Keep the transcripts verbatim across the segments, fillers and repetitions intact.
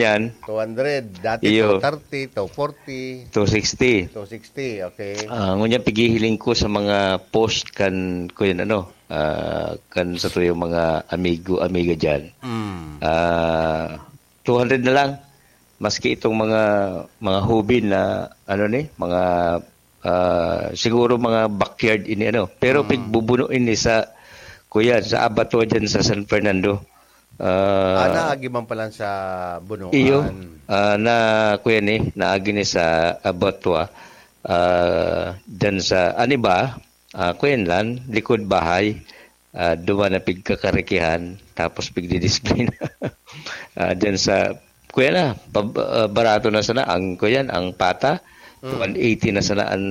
yan. Two hundred. Dati Iyo. two thirty, two forty, two sixty. two sixty, okay. Ah, ngunyan, pighihiling ko sa mga post kan, kuyan, ano, ah, kan sa tuyong mga amigo, amiga dyan. Mm. Ah, two hundred na lang. Maski itong mga, mga hubin na, ano ni, mga, ah, siguro mga backyard ini, ano. Pero Mm. pigbubuno ini sa, kuyan, sa abattoir dyan sa San Fernando. Ah, Ah, naagi man pala sa bunuan. Iyo. Ah, na, kuyan eh, naagi ni sa abattoir. Ah, dyan sa, ano ba? Ah, kuyan lang, likod bahay. Ah, duman na pigkakarikihan, tapos pigdidisplay na. Ah, dyan sa, kuyan na, pab-, ah, barato na sana ang, kuyan, ang pata. Mm. One eighty na sana ang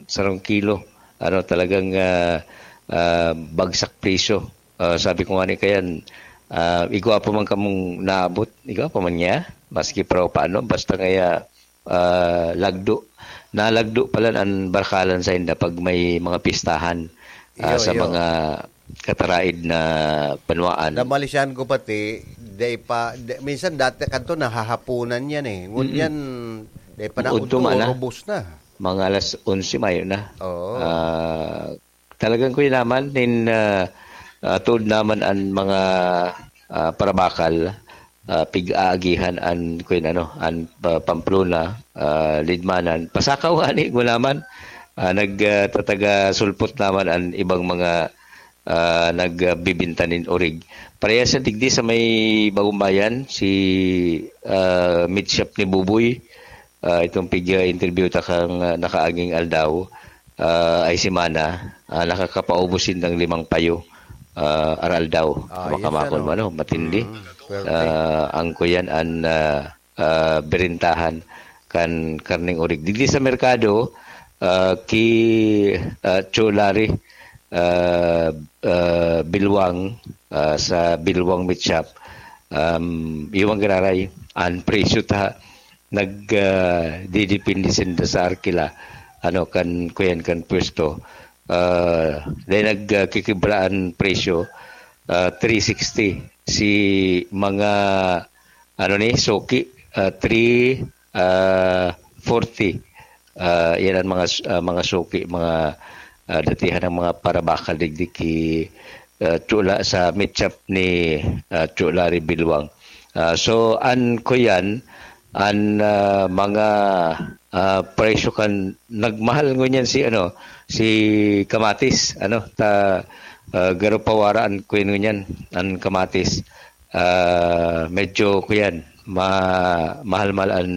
sarong kilo. Ano, talagang, ah, ah, bagsak presyo. Ah, sabi ko nga ni kayan, ah, igwa pa man kamong naabot, igwa pa man niya, maski pa paano, basta kaya, ah, lagdo. Nalagdo pala an barkalan sa inda pag may mga pistahan, ah, Iyo, sa iyo. mga kataraid na banwaan. Namalisyan ko pati, dai pa, di, minsan dati kanto nahahaponan yan eh. Ngunyan, Mm-mm. dai pa Buod naudto, tuman na. Ubos na. Mga alas onse mayo na. Oo. Ah, talagang kuya naman, nin, ah, ah, tuod naman an mga, ah, parabakal, ah, pig-aagihan an, kuya, ano, an, ah, Pamplona, ah, Lidmanan. Pasakaw nga ni, kuya naman, ah, nag, ah, tataga sulpot naman an ibang mga, ah, nagbibinta nin orig. Parehas sa digdi sa may Bagong Bayan, si, ah, meat shop ni Buboy, ah, itong pig-interview ta kang, ah, nakaaging aldaw, ah, ay semana, ah, nakakapaubos sindang limang payo, ah, aral daw. Ah, yes, Makamakon ano? mo, ano, matindi. Mm, swerte. Ah, ang kuyan an, ah, ah, berintahan kan karneng orig. Digdi sa merkado, ah, ki, ah, Cholari, ah, ah, Bilwang, ah, sa Bilwang Meat Shop, um, iwang giraray, an presyo ta nag, ah, didepende sinda sa arkila, ano, kan, kuyan, kan pwesto. Ah, dahil nag, ah, kikibra an presyo, ah, three sixty. Si mga, ano ni, suki, ah, three, ah, forty. Ah, yan ang mga s-, ah, mga suki, mga, ah, datihan ng mga parabakal digdi ki, ah, Chula, sa meat shop ni, ah, Chulari Bilwang. Ah, so, an kuyan, an, ah, mga, ah, presyo kan nagmahal ngunyan si, ano, si kamatis, ano, ta, ah, garo pawara an kuyan ngunyan, an kamatis. Ah, medyo kuyan, ma-, mahal-mahal an,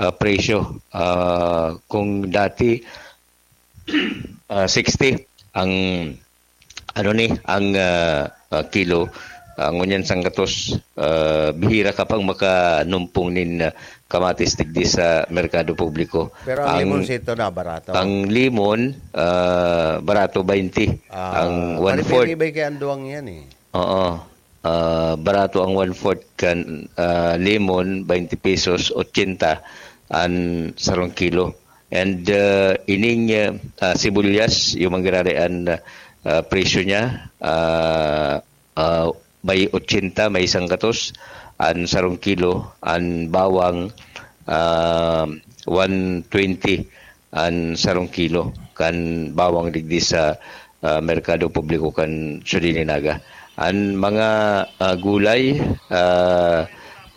ah, presyo. Ah, kung dati, ah, sixty ang, ano ni, ang, ah, ah, kilo, ah, ngunyan sanggatos, ah, bihira ka pang makanumpong nin, ah, kamatis digdi sa merkado publiko. Pero ang Ang, limonsito na barato. ang limon, ah, barato, baynte. Ah, Ang one-fourth. Maribay-ribay kaya ang duwang yan eh. Oo. Ah, barato ang one-fourth kan, ah, limon, baynte pesos, otsenta an sarong kilo. And, ah, ining, ah, ah, sibuyas, yung manggiraray an, ah, presyo niya, ah, ah, may otsenta, may sanggatos an sarong kilo, an bawang, ah, one twenty an sarong kilo kan bawang digdi sa, ah, merkado publiko kan Siyudad nin Naga. An mga, ah, gulay, ah,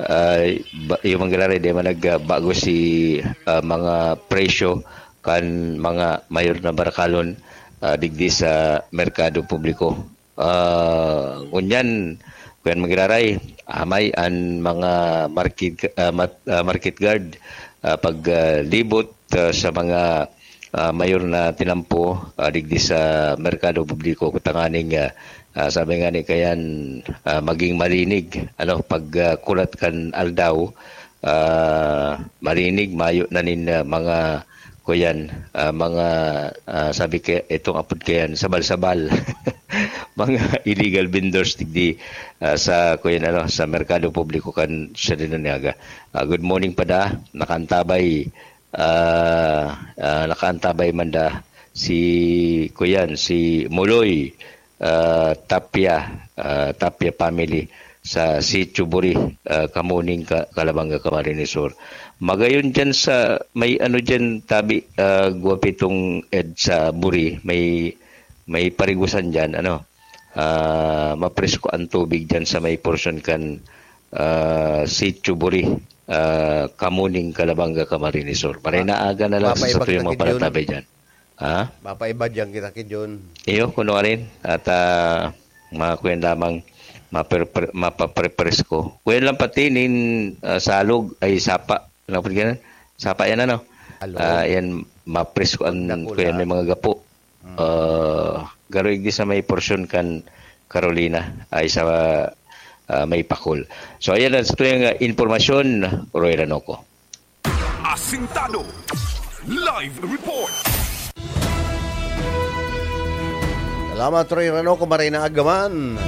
ah, ba-, yung manggiraray, di man nagbago si, ah, mga presyo kan mga mayor na barakalon, ah, digdi sa merkado publiko. Ah, ngunyan, kuyan manggiraray, amay an mga market, ah, mat-, ah, market guard, ah, pag, ah, libot, ah, sa mga, ah, mayor na tinampo, ah, digdi sa merkado publiko, tanganing, ah, ah, sabi nga ni kayan, ah, maging malinig, ano, pag, ah, kulat kan aldaw, ah, malinig, mayo na nin, ah, mga, kuyan, ah, mga, ah, sabi kaya, itong apod kayan, sabal-sabal. Mga illegal vendors digdi, ah, sa, kuyan, ano, sa merkado publiko kan Siyudad nin Naga. Ah, good morning pa da, nakaantabay, ah, ah, nakaantabay man da si, kuyan, si Muloy, ah, Tapia, ah, Tapia family. sa Sitio Buri, ah, Kamuning, Ka-, Calabanga, Camarines Sur. Magayon diyan sa may ano diyan, tabi, ah, Guapitong Ed sa Buri, may, may parigusan diyan, ano, ah, mapresko ang tubig diyan sa may porsyon kan, ah, Sitio Buri, ah, Kamuning, Calabanga, Camarines Sur. Maray na aga na lang sa satuyang mga parantabay diyan. Ha? Mapaiba diyan kita ki Jun. Iyo, kuno rin. At, ah, mga kuyan lamang, maperpre-, mapaprepresko. Kuyan lang pati nin, ah, salog, ay sapa. Ano po yan? Sapa yan, ano? Alog. Ah, yan, mapresko ang Dakula. Kuyan, may mga gapo. Mm. Ah, garo igdi sa may porsyon kan Carolina, ay sa, ah, may Pakol. So, ayan ang sa tuyang, ah, impormasyon, Roy Ranoco. Asintado. Live report. Salamat, Roy Ranoco, maray na aga man.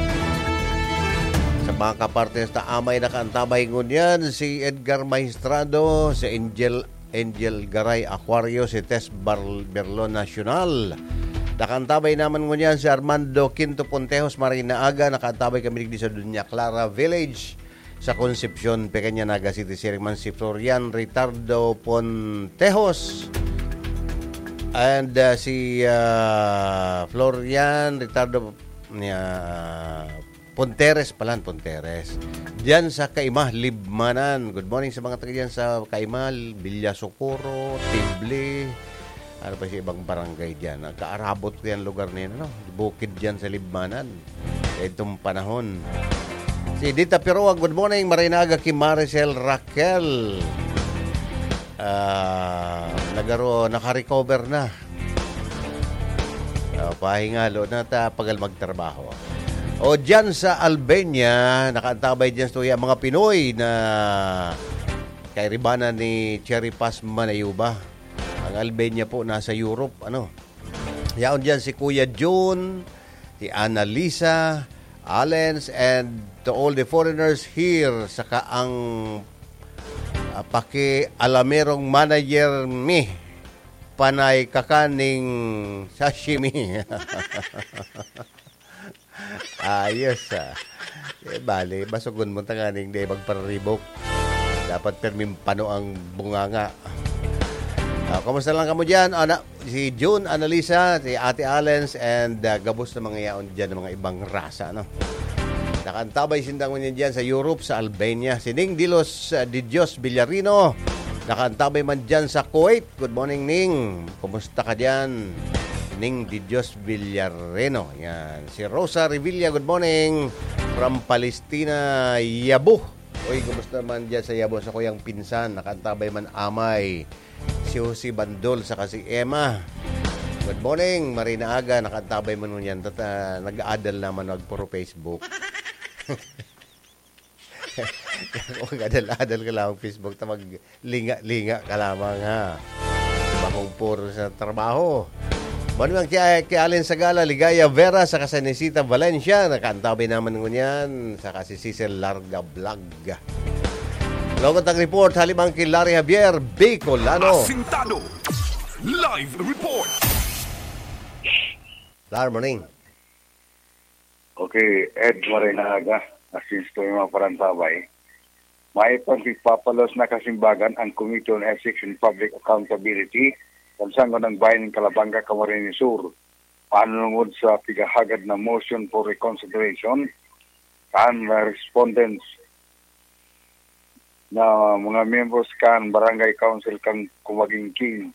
Sa mga kapartes ta amay nakaantabay ngunyan, si Edgar Maestrado, si Angel, Angel Garay Acuario, si Tess Bar-, Berlon Nacional. Nakaantabay naman ngunyan si Armando Quinto Pontejos, maray na aga, nakaantabay kami digdi sa Doña Clara Village. Sa Concepcion, Pequeña, Naga City, siring man si Florian Ritardo Pontejos and, ah, si, ah, Florian Ritardo, ah, Ponteres palan, Ponteres. Diyan sa Kaima, Libmanan. Good morning sa mga taga diyan sa Kaima, Villa Socorro, Tibli. Ano pa sa ibang barangay diyan? Nagkaarabot ko yan lugar na yan, ano? Bukid diyan sa Libmanan. Itong panahon. Si Dita Piroa, good morning. Maray na aga ki Maricel Raquel. Ah, nagaro-, nakarecover na. Ah, pahingalo na ta, pagal magtrabaho. O diyan sa Albania, nakaantabay diyan sa tuya, mga Pinoy na kairibanan ni Cherry Paz Manayuba. Ang Albania po nasa Europe, ano. Yaon diyan si Kuya Jun, si Annalisa, Alens, and to all the foreigners here, saka ang, ah, pakialamerong manager mi, panay kakaning sashimi. Ayos, ah. Eh, bale, basogon mo tanganing di magpararibok. Dapat perming pano ang bunganga. Ah, kumusta lang kamo diyan? Ana, si Jun, Annalisa, si Ate Allens, and, ah, gabos na mga yaon diyan ng mga ibang rasa, no? Nakaantabay sindang ngunyan diyan sa Europe, sa Albania. Si Ning Dilos, ah, Di Dios Villarino. Nakaantabay man diyan sa Kuwait. Good morning, Ning. Kumusta ka diyan? Ning Di Dios Villareno. Yan. Si Rosa Revilla, good morning. From Palestina, Yabo. Uy, kumusta man diyan sa Yabo? Sa kuyang pinsan, nakaantabay man amay. Si Jose Bandol, saka si Emma. Good morning, maray na aga. Nakaantabay man ngunyan. Tat-, ah, nag-aadal naman, nagpuro Facebook. Kung adal-adal ka lang Facebook, ta maglinga-linga ka lamang, ha? Bakong puro sa trabaho. Manuang ki, ki Allen Sagala, Ligaya Vera, saka si Nisita Valencia, nakaantabay naman ngunyan, saka si Cecil Larga Vlog. Logot ang report, halimang ki Larry Javier, Bicolano. Asintado. Live report. Lar, morning. Okay, Ed, maray na aga. Asin sa mga parantabay. May pagpapalos na kasimbagan ang Committee on Ethics and Public Accountability kan Sangguniang Bayan nin Calabanga, Camarines Sur. Panungod sa pigahagad na motion for reconsideration, kan mga respondents na mga membros kan Barangay Council kan Kumagingking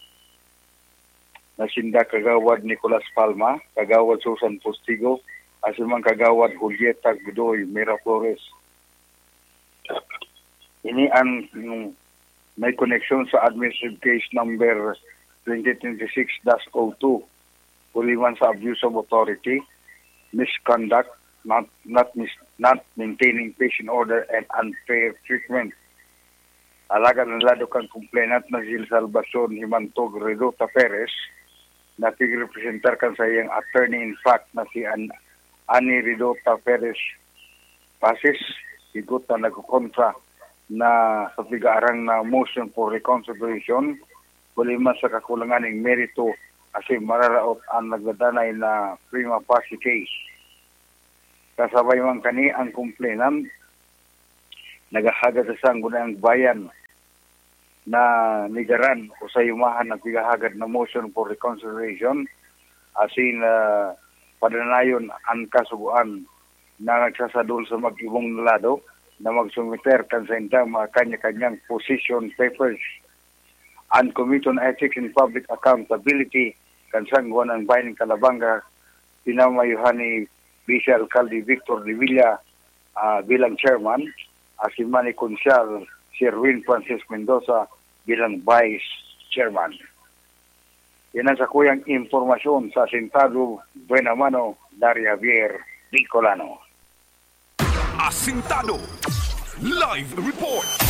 na sinda Kagawad Nicolas Palma, Kagawad Susan Postigo, asin man Kagawad Julieta Godoy Miraflores. Ini ang, mm, may koneksyon sa administrative case number twenty twenty-six dash oh two, huli man sa abuse of authority, misconduct, not, not mis-, not maintaining peace and order, and unfair treatment. Alagad ang lado kan complainant na si Salvacion Himantog Redota Perez, na tigrepresentar kan saiyang attorney in fact na si An-, Ani Redota Perez Pasis, sigot na nagkokontra na sa pigaarang na motion for reconsideration, huli man sa kakulangan ning merito asin mararaot ang nagdadanay na prima facie case. Kasabay man kani ang complainant nagahagad sa Sangguniang Bayan na nigaran o sayumahan ang pighahagad na motion for reconsideration asin, ah, padanayon an kasugoan na nagsasadol sa mag-ibong na lado na magsumiter kan saindang mga kanya-kanyang position papers. An Committee on Ethics and Public Accountability kan Sangguniang Bayan nin Calabanga, pinamayohan ni Vice Alkalde Victor Revilla, ah, bilang chairman, asin man ni Konsehal Sherwin Francis Mendoza bilang vice chairman. Yan ang sakuyang impormasyon sa Asintado, Buena Mano, Larry Javier Bicolano. Asintado Live Report.